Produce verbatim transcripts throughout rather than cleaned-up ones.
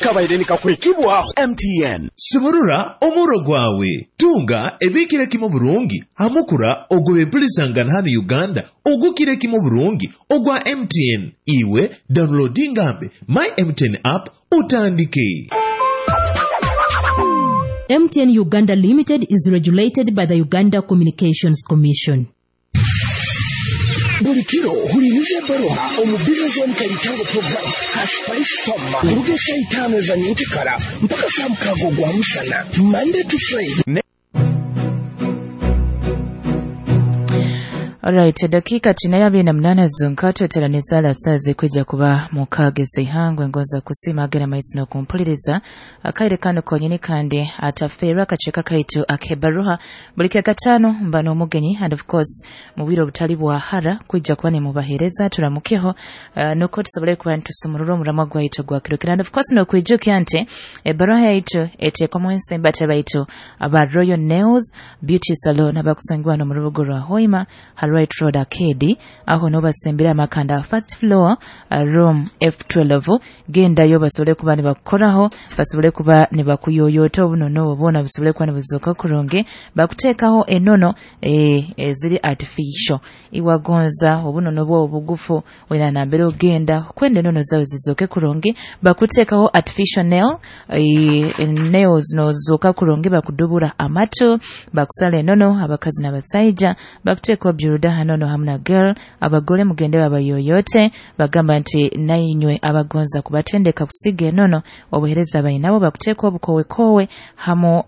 Kabaire nikakwekibwaho M T N. Sumurura omuro gwawe, tunga ebikire kimu burungi hamukura ogw'ebempulisangana hano Uganda ogukire kimu burungi ogwa M T N. Iwe downloadingambe My M T N app utandike. M T N Uganda Limited is regulated by the Uganda Communications Commission. Buli kiro huliriza ebbaruha omu Business One Kaitango program ha Spice Toma kuruga esaa itaano eza nyenkikara mpaka saa mukaaga ogwa musana, Monday to Friday. Alright, dakika china ya abiri na munana zonka tweteraniza ala zikwija kuba mukaaga ez'ihangwe. Ngonza kusiima agera maiso n'okumpuliriza akaire kano konyini, kandi atafeerwa akaceeka kaitu ak'ebbaruha. Buli kyakataano mba n'omugenyi, and of course mu bwire obutali bwa hara kwija kuba nimubaheereza. Turamukeho uh, nukwo tusobole kuba nitusumurura omuramwa gwaitu gwakirokera. And of course n'okwijukya nti ebbaruha yaitu eteekwamu ensembate baitu aba Royal Nails Beauty Salon abakusangibwa n'omu rubuga rwa Hoima ha Right Road Arcade. Aho nobasembera amakanda first floor, uh, room F twelve. Gendayo basobole kuba nibakukoraho, basobole kuba nibakuyoyota obunono obwo bwona busobole kuba nibuzooka kurungi, bakuteekaho enono eh, eziri artificial. Iwagonza obunono bwo obugufu wena nambere ogenda kwenda enono zawe zizooke kurungi, bakuteekaho artificial nail, eh, nails nozooka kurungi, bakudubura amatu, bakusala enono abakazi n'abasaija, bakuteekaho builder hanono hamu na girl. Abagole mugende babayoyote. Bagamba nti nainywe abagonza kubatendeka kusiga enono, obuhereza bainabo, bakuteeka obukowekowe hamu uh,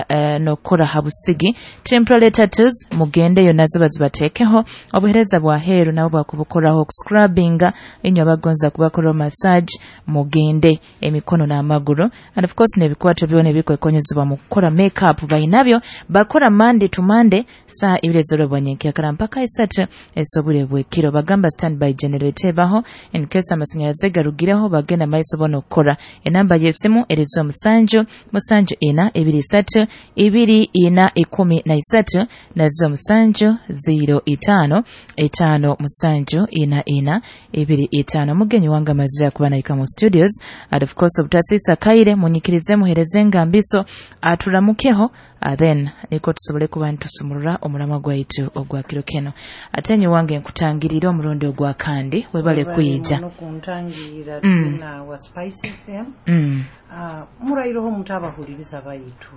uh, n'okukora ha busigi. Temporary tattoos mugendeyo nazo bazibateekeho. Obuhereza bwa heeru nabo bwakubukoraho, okuscrubbinga. Inywe abagonza kubakoraho massage mugende, emikono n'amaguru, and of course n'ebikwato byona ebikwekonyezebwa mu kukora makeup bainabyo. Bakora Monday to Monday saa ibiri ez'olwebwa nyenkyakara mpaka isatu ez'obwire bw'ekiro. Bagamba standby generator ebaho in case amasanyalaze garugireho, bagenda maiso bona okukora. Enamba y'esimu erizo musanju musanju ina ebiri isatu ibiri ina ikumi na isatu, nazo musanju ziro itaano itaano musanju ina ina ibiri itaano. Mugenyi wange amazire kuba naika mu studios, and of course obutasiisa kaire munyikirize muhereze engambiso aturamukeho, uh, then niko tusobole kuba nitusumurura omuramwa gwaitu ogwa kiro keno. Ate nyi wange nkutangirira omurundi ogwa kandi, webale kwija. Nokuntangirira. Mm. Tuna wa Spice F M. mm. Ah, murairoho mutabahuliriza baitu,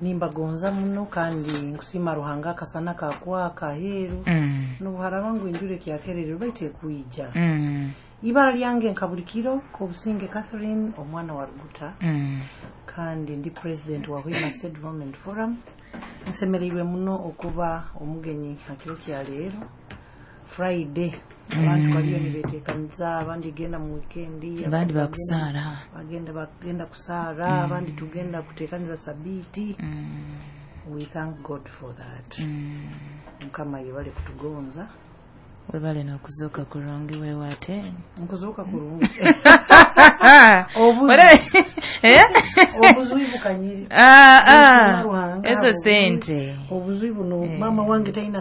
nimbagonza muno kandi nkusima Ruhanga akasana kakwaka aheeru Mm. nobuharaba ngu enjura ekyakerererwa baitu ekwija. Mm. Ibara lyange nka buli kiro Kobusinge Catherine, omwana wa Ruguta, Mm. kandi ndi president wa Hoima State Development Forum. Nsemereirwe muno okuba omugenyi hakiro kya leero Friday. Abantu baliyo nibetekaniza, abandi genda mu weekend, abandi bakusaara. Bagenda bagenda kusaara, abandi tugenda kutekaniza sabiti. mm. We thank God for that. Mm. Mukama yebale kutugonza. Webale n'okuzuuka kurungi wewe ate. Nkuzuuka kurungi. Wale- Eh? Obuzwi bukanyiri. Ah, ah. Ruhanga, ezo obuzwi- sente. Obuzwi buno mama wange talina.